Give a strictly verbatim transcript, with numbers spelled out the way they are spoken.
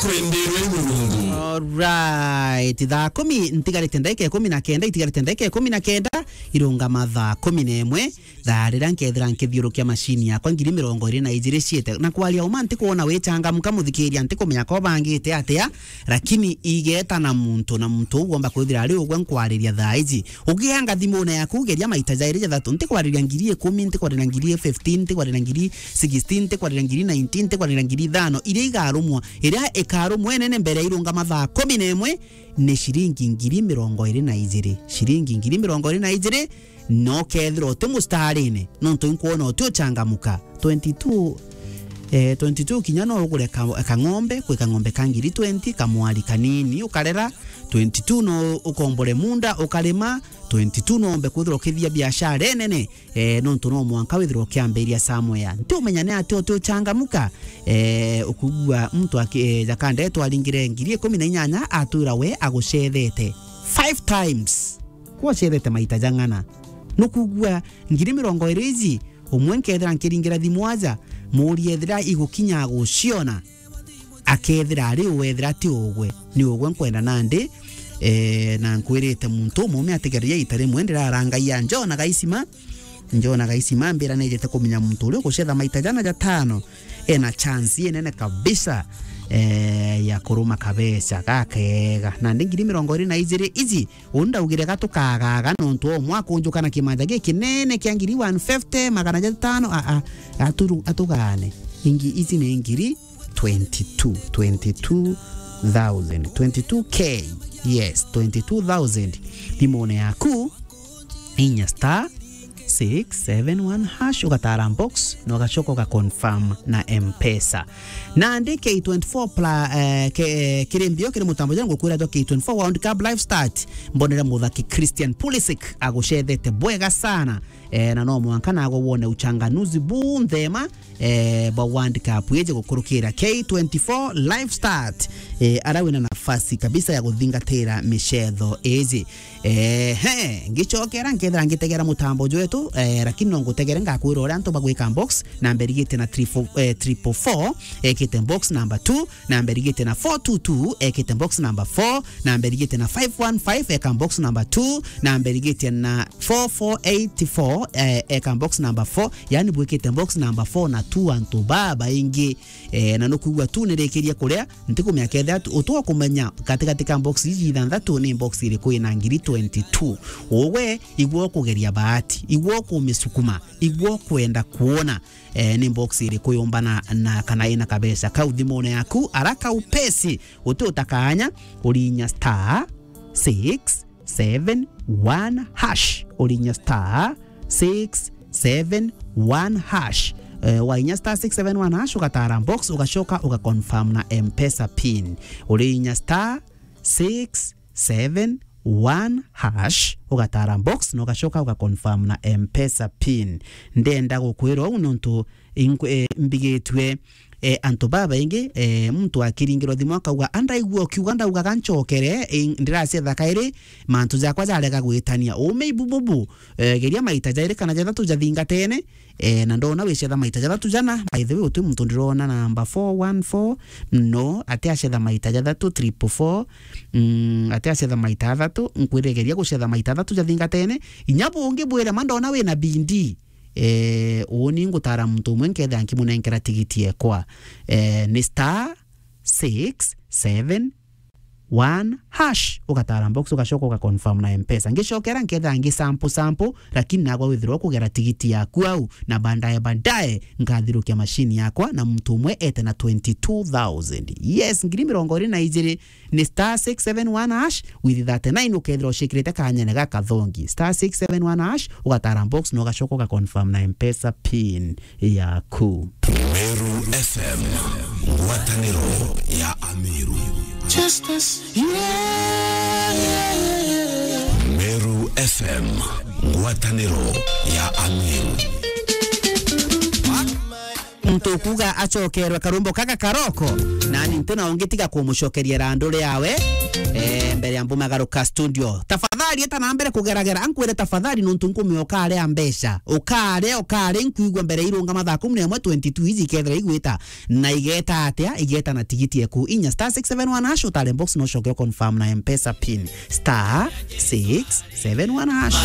Kwenderwe Murungu. Alright, thaa kumi ntigarite ndagika ikumi na kenda, itigarite ndagika ikumi na kenda, irungama thaa kumi na imwe, thaa riria nkethira nkithiurukia macini yakwa ngiri mirongo iri na ijiri ciete. Na kwaria uma, ntikwona wichangamka, muthikiria, ntikumenya ka ubangite atia, lakini igeta na muntu, na muntu uu womba kwithira ari ugwe nkwariria thaa iji. Ugianga thimune yaku, ugeria maita jairi jathatu. Ntikwariria ngiri ikumi, ntikwariria ngiri fifteen, ntikwariria ngiri sixteen, ntikwariria ngiri nineteen, ntikwariria ngiri ithano, iria igarumwa, iria ikarumwa inene mbere ya irungama thaa kumi na imwe, ni ciringi ngiri mirongo iri na ijiri. Ciringi ngiri mirongo iri na ijiri, no kethira uti mustarine, nontu inkwona uti uchangamuka. Twenty-two, eh, twenty-two kinya no ugure ka-, kang'ombe, kwi kang'ombe ka ngiri twenty, kamwari kanini ukarera. Twenty-two no ukombore munda ukarima. Twenty-two no ombe kwithirwa ukithia biashara inene, eh, nontu no mwanka withirwa ukiambiria somewhere. Ntiumenya ni atia uti uchangamuka, eh, ukugua muntu aki-, eh, jakandetwa aringire ngiri ikumi na inyanya, atwira we agucethete five times. Kwacethete maita jang'ana? Nukugua ngiri mirongo iri iji, umwe nkethira nkiringira thimu aja, muurie ethira igukinya aguciona, akethira ari ugwe, ethira ti ugwe, ni ugwe nkwenda nandi. Eh, na nkwirite muntu umume atigeria ita rimwe, ndirarangaia Njona Gaisima. Njona Gaisima, mbira nejete kumenya muntu uria ugucetha maita jana jatano ena chance inene kabisa, eh, ya kuruma kabeca gakega. Nandi ngiri mirongo iri na ijiri iji, uu ndaugire ga tukagaga nontu o mwakunjuka na kimanja gikinene kia ngiri one fifty, magana jatano, a, a, aturu-, atugane. Ingi iji ni ngiri twenty-two, twenty-two thousand, twenty-two K, yes, twenty-two thousand. Thimune yaku, inya star six seven one hash, ugatara box, na ugacoka uga confirm na M-Pesa. Nandi K twenty-four pla-, eh, ke-, kiri mbio kiri mutambo jana ngukwira jwa K twenty-four World Cup Live Start, mbonere muthaki Christian Pulisic agucethete bwega sana. Eh, na no mwanka nago wone uchanganuzi bunthema, eh, bwa World Cup iji gukurukira K twenty-four Live Start, eh, ara wina nafasi kabisa ya guthingatira micetho iji. Eh, he, ngicokera nkethira ngitegera mutambo jwetu, eh, lakini no ngutegere ngakwira uria antu bagwika box, namba irigite na triple, eh, triple four, ekite box number two, namba irigite na four two two, ekite box number four, namba irigite na five one five, eka box number two, namba irigite na four four eight four, eh, eka box number four, yani bwikite box number four na tu antu babaingi. Eh, na nukwigua tu nirikirie kuria, ntikumenya kethira tu-, utwa kumenya gatigati ka box iji ithanthatu ni box iriku ina ngiri twenty-two. Ugwe, igua ukugeria bahati, igua ukumisukuma, igua ukwenda kuona, eh, ni box iriku yumbana na kana ina kabeca kau thimune yaku, araka upesi, uti utakanya, urinya star six seven one hash, urinya star six seven one hash. Eh, wainya star six seven one hash, ugatara box, ugacoka uga confirm na M-Pesa pin. Urinya star six seven one hash, ugatara box, na ugacoka uga confirm na M-Pesa pin. Ndenda gukwira uu nontu inkwe-, eh, mbigitue, eh, antu babaingi, eh, muntu akiringirwa thimu akauga, "Andaigua ukiuga ndaugaga ncokere, eh, ndiracetha kairi, mantu jakwa jarega gwitania." Ume ibububu, eh, geria maita jairi kana jathatu jathingatene, eh, na ndona wicetha maita jathatu jana. By the way, uti muntu ndirona namba four one four, no, ati acetha maita jathatu, triple four, mm, ati acetha maita athatu, nkwire geria gucetha maita athatu jathingatene, inya bungi bwire ma ndona wina bindi. Eh, uuni ngutara muntu umwe nkethira nkimunenkera tigiti ekwa. Eh, ni star six seven one hash, ugatara box, ugacoka uga confirm na M-Pesa. Ngicokera nkethira ngi sample sample, lakini nagwa withirwa kugera tigiti yaku au, na baadaye baadaye nkathirukia machine yakwa na muntu umwe ete na twenty-two thousand. Yes, ngiri mirongo iri na ijiri. Ni star six seven one hash with thirty-nine, ukethira ucikirite kanyene gaka thongi. Star six seven one hash, ugatara box na ugacoka uga confirm na M-Pesa pin yaku. Meru F M, ngwataniro ya Ameru. Justice, yeah, yeah, yeah, yeah. Meru F M, ngwataniro ya Ameru. Ntukuga acokerwe karumbo kaka karoko, nani ntina ungi tiga kumucokeria randu riawe, eh, mbere ya mbumagaruka studio. Tafadhali eta na mbere kugeragera, ankwire tafadhali nuntu nkumia ukarea mbeca. Ukarea, ukarea, nkuigua mbere irunga mathaa kumi na imwe twenty-two iji ikethira igwita, na igeta atia, igeta na tigiti eku inya star six seven one hash, utare box no coke confirm na M-Pesa pin. Star six seven one hash.